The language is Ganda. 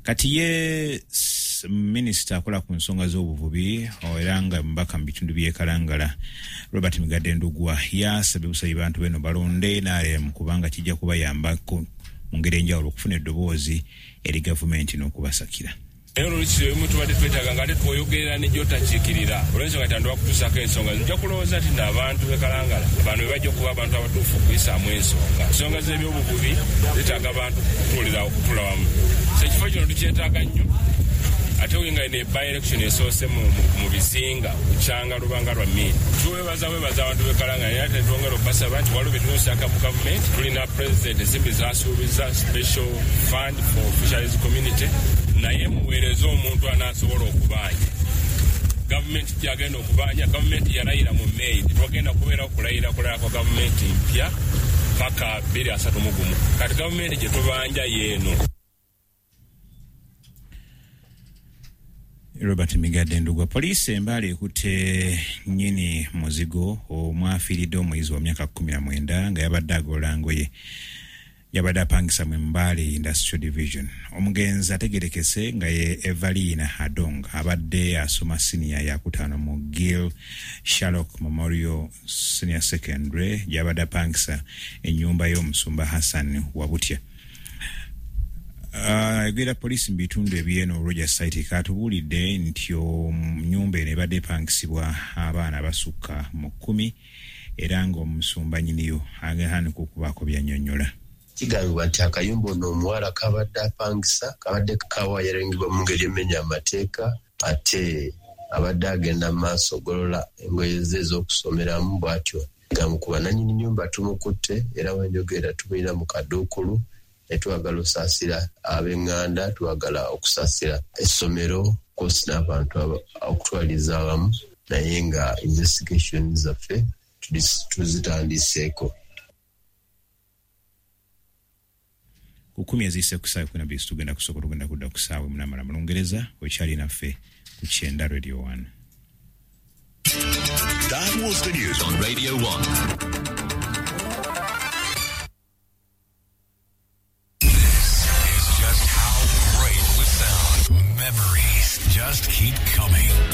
Kati ye minisita akola ku nsonga z'obuvubi era nga mubaka mu bitundu by'e Kalangala, Robert Migadde Ndugwa, yasabye busabi bantu beno balonde NRM kubanga kijja kubayambako mu ngeri enjawulo okufuna eddoboozi eri gavumenti n'okubasakira. Naye olwekyo ebimu tubadde twetaaga nga ate twoyogerera ne gy'otakiikirira olw'ensonga nti bakutuusaako ensonga. Nja kulowooza nti n'abantu b'e Kalangala bano be bajja okuba abantu abatuufu okuyisaamu ensonga. Ensonga z'ebyobuvubi zeetaaga abantu kutuulira okutuula wamu. So ekifo kino tukyetaaga nnyo, ate nga eno by-election esoose mu bizinga kukyanga lubanga lwa Mini. Tuwebaza webaza abantu b'e Kalangala, naye ate twongera okubasaba nti waliwo bye tulina mu gavumenti. Tulina president ensimbi z'asuubiza special fund for fisheries community, naye muweereze omuntu anaasobola okubanja. Gavumenti gyagenda okubanja, gavumenti yalayira mu May, tetwagenda kubeerawo kulayira kulala kwa gavumenti mpya paka 2031. Kati gavumenti gye tubanja yeeno. Robert Migadde Ndugwa. Poliisi e Mbale ekutte nnyini muzigo omwafiiridde omuyizi wa myaka 19 nga yabadde agolola ngoye yabadde apangisa mu Mbale Industrial Division. Omugenzi ategerekese nga ye Evalina Adong, abadde asoma siniya yakutaano mu Gil Sherlock Memorial Senior Secondary gy'abadde apangisa ennyumba y'omusumba Hassan Wabutya. Ayogera poliisi mu bitundu eby'eno Roger Site katubuulidde nti nnyumba eno ebadde epangisibwa abaana abasukka mu 10 era ng'omusumba nnyiniyo agatandika okubaako by'annyonnyola. Kigambibwa nti akayumba ono omuwala kabadde apangisa kabadde kawayaringibwa mu ngeri emenya amateeka, ate abadde agenda mu maaso ogolola engoye ze ez'okusomeramu bw'atyo gamukuba. Nannyini nnyumba tumukutte era wenjogera tumuyina mu kaduukulu, ne twagala osaasira ab'eŋŋanda, twagala okusaasira essomero kosi n'abantu okutwaliza awamu, naye nga investigation zaffe tuzitandiseeko. Ku 10 eziyise ku ssaawa 12 tugenda kusooka tugenda kudda ku ssaawa 8 mu Lungereza. Okyali naffe ku Kyenda Radio 1. That was the news on Radio 1.